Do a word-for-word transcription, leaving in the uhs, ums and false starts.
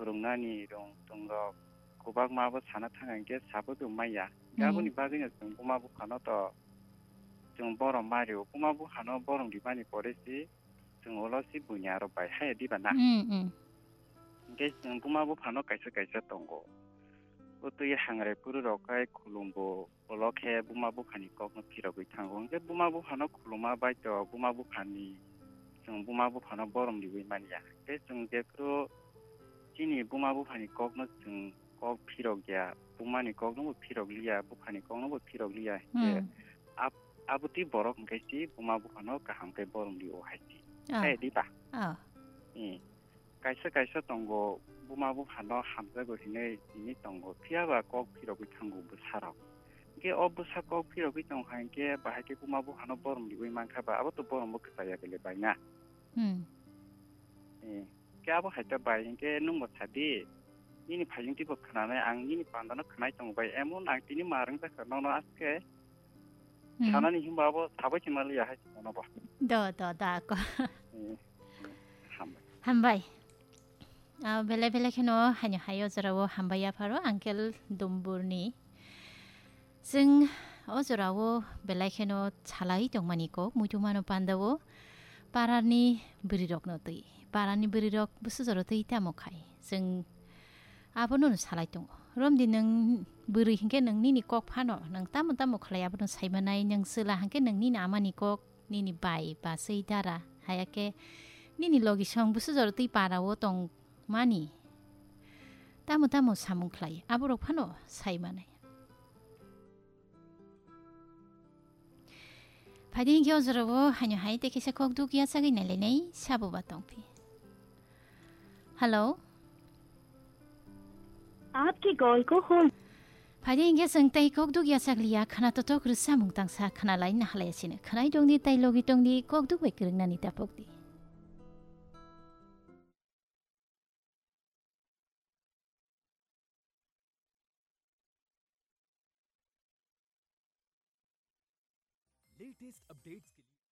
Rwngnani rwng tongo, kwbangma abo sana thang hwnkhe sabo tong maya. Hwnkhe aboni bagwino chwng buma buphano to chwng borom ma rio. Buma buphano borom rimani pore si chwng ulo si buini aro bai haya diba na? Hmm, hmm. Hwnkhe chwng buma buphano kaisa kaisa tongo. O twi hangrai phuru rok khai khulumbo, ulo khe buma buphani kokno phirogwi thango. Hwnkhe buma buphano khuluma bai to buma buphani, chwng buma buphano borom riwi manya. Tei chwng jephru chini buma buphani kokno chwng kok phirok ya, bumani kokno bo phirok liya, buphani kokno bo phirok liya. Hwnkhe Hmm. ab-, abotwi borok hwnkhe si buma buphano kaham khe borom rio hai si. Ah. Hai diba? Ah. Hmm. Kaisa kaisa tongo, buma buphano hamjago hinwi tini tongo, phiyaba kok phirogwi thango bwsarok. Hwnkhe o bwsa kok phirogwi tong hai hwnkhe bahai khe buma buphano borom riwi mankha ba, abo to borom bo kwchaya bele bai na. Hmm. Eh, khe abo hai ta bai hwnkhe nwng bo sadi, nini phaiyung twi bo khwnanai, ang nini panda no khwnai tongo bai, emon ang tini ma rwngjakha nono aske. Hmm. Sanani hinba abo sabai se maliya hai se nono bo. Do, do, da ko. Eh, hambai. Hambai. Ah, belai belai kheno haino hai o jorao hambai yapharo Uncle Dumburni. Chwng o jorao belai kheno salai tongmani kok, muitu mano pandao parani bwrwirokno twi. Parani bwrwirok bwswk jora twi tamo khai. Chwng abono no salai tongo. Romdi nwng bwrwi hinkhe nwng nini kok phano, nwng tamo tamo khlai abono saimanai, nwng chwla hinkhe nwng nini amani kok, nini bai, baswi, dara, hayakhe nini logisong bwswk jora twi parao tong mani tamo tamo samung khlai, aborok phano sai manai. Phaidi hinkhe o jorao haino hai tei kisa kok duk yachagwi nailainai sabo ba tongphi. Hello? आपके कॉल को hold. Phaidi hinkhe chwng tei kok duk yachak liya, khna totok rwchapmung tangsa khna lai nahalai sino. Khwnai tongdi tei logi tongdi, kok duk bai kwrwngnani tapokdi. Latest updates के लिए